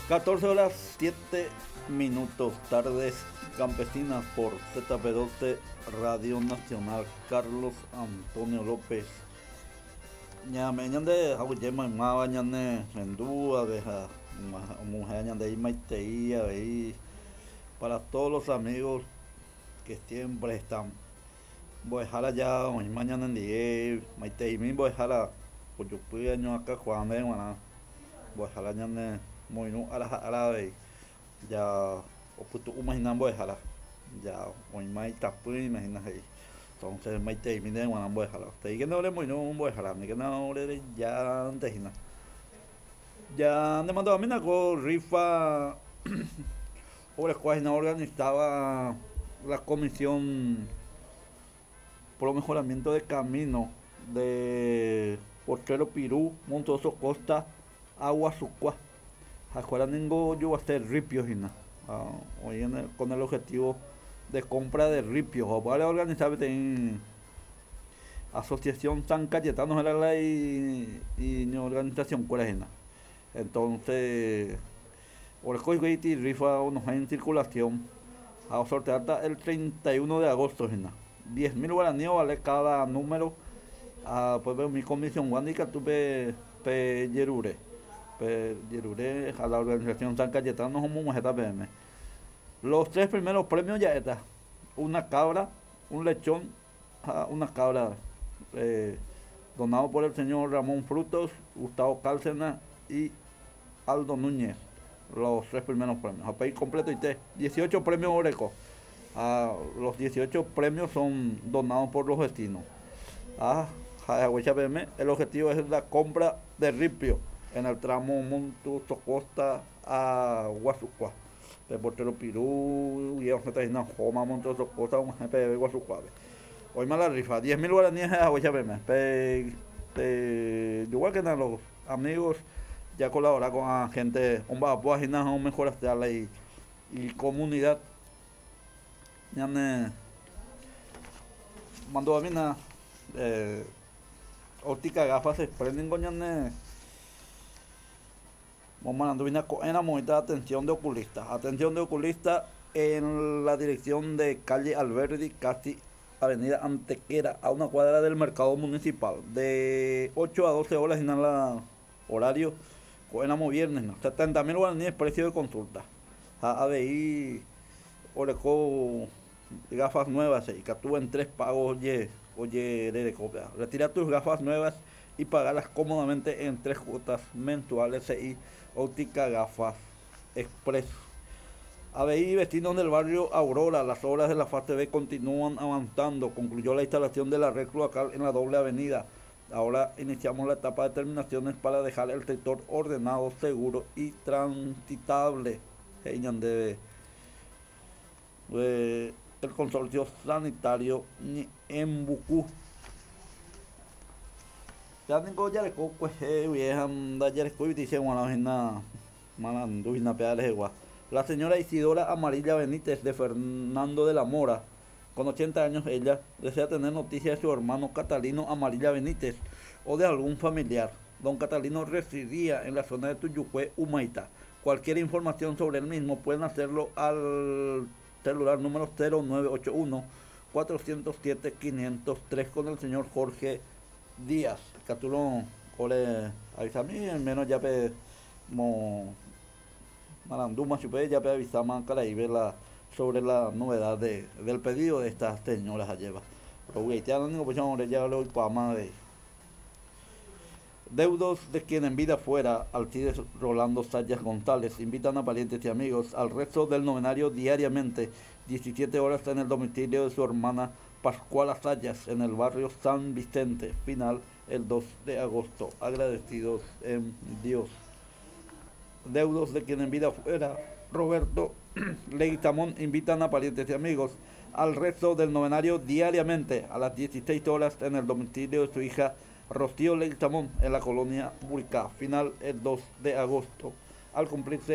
14 horas 7 minutos, tardes campesinas por ZP12 Radio Nacional Carlos Antonio López. Ñame ñande aguyje maymáva ñane rendu ave ha omuhẽ ñande imaitei avei para todos los amigos que siempre están mbo'ehára ja oĩma ñanendie maiteimi mbo'ehára ojopy añoakakuaa ndéve g̃uarã mbo'ehára ñane moirũ ára ha ára avei ja opytu'úma hína mbo'ehára ja oĩma itapỹime hína he'i entonces maiteimi ndéve g̃uarã mbo'ehára teíkena oremoirũ mbo'ehára aníkena orerejánte hína ja nemandu'amína ko rifa orekóva hína organizaba la comisión pro mejoramiento de camino de Potrero Pirú, Montoso Costa, Aguasukua. Ha'ekuéra ningo ojoguase ripio hína oĩ con el objetivo de compra de ripio. Ha upévare organiza peteĩ asociación San Cayetano héra la iñorganización-kuéra hína. Entonces oreko hikuái iti rifa onohẽ en circulación ha osorteáta el 31 de agosto hína. 10.000 guaraní ovale cada número ha upépe umi comisión-gua ndikatu pe pejerure pejerure ha la organización San Cayetano omog̃uahẽta peẽme. Los tres primeros premios ja'éta una cabra, un lechón ha una cabra eh, donado por el señor Ramón Frutos, Gustavo Cárcena y Aldo Núñez. Los tres primeros premios. Ha upéi completoite 18 premios oreko. Ha los 18 premios son donados por los vecinos. Ha ha'e haguéicha peẽme, el objetivo es la compra de ripio en el tramo Montuoso Costa a Guasukua. Pe Potrero Piru guie osẽta hína ohóma Montuoso Costa og̃uahẽ peve Guasukuápe. Oĩma la rifa, 10.000 guaraníes ha'e haguéicha peẽme. Pe pejoguákena los amigos ya colabora ko'ã gente omba'apóva hína ha omejoraseha la icomunidad. Ñane mandu'amína eh, óptica gafas express ningo ñane momarandu hína ko'ẽramo oĩta atención de oculista. Atención de oculista en la dirección de calle Alberdi, casi avenida Antequera, a una cuadra del mercado municipal. De 8 a 12 horas hína la horario, ko'ẽramo viernes, no. 70.000 guaraníes precio de consulta. Ha avei oreko gafas nuevas ikatu en tres pagos oje ojerereko péva. Retira tus gafas nuevas y pagalas cómodamente en tres cuotas mensuales he'i Óptica Gafas Express. Avei vecinos del barrio Aurora, las obras de la fase B continúan avanzando. Concluyó la instalación de la red cloacal en la doble avenida. Ahora iniciamos la etapa de terminaciones para dejar el sector ordenado, seguro y transitable. He'i ñandéve el Consorcio Sanitario Ñe'ẽmbuku. Péva niko jareko kuehe guive ha ndajarekói che g̃uarã hína marandu hína péva rehegua. La señora Isidora Amarilla Benítez de Fernando de la Mora, con 80 años ella, desea tener noticias de su hermano Catalino Amarilla Benítez o de algún familiar. Don Catalino residía en la zona de Tuyucué, Humaitá. Cualquier información sobre el mismo pueden hacerlo al celular número 0981 407 503 con el señor Jorge Díaz. Ikatúrõ ore avisami, al menos ya pe mo marandúma chupe, ya pe avisáma karaive la sobre la novedad de, del pedido de estas señoras ajéva. Rovy'aite ningo upéicha ore ja roikuaáma avei. Deudos de quien en vida fuera, Alcides Rolando Sayas González, invitan a parientes y amigos al rezo del novenario diariamente, 17 horas en el domicilio de su hermana Pascuala Sayas, en el barrio San Vicente, final el 2 de agosto. Agradecidos en Dios. Deudos de quien en vida fuera, Roberto Leguizamón, invitan a parientes y amigos al rezo del novenario diariamente a las 16 horas en el domicilio de su hija Rocío Leguizamón en la colonia Buricá, final el 2 de agosto, al cumplirse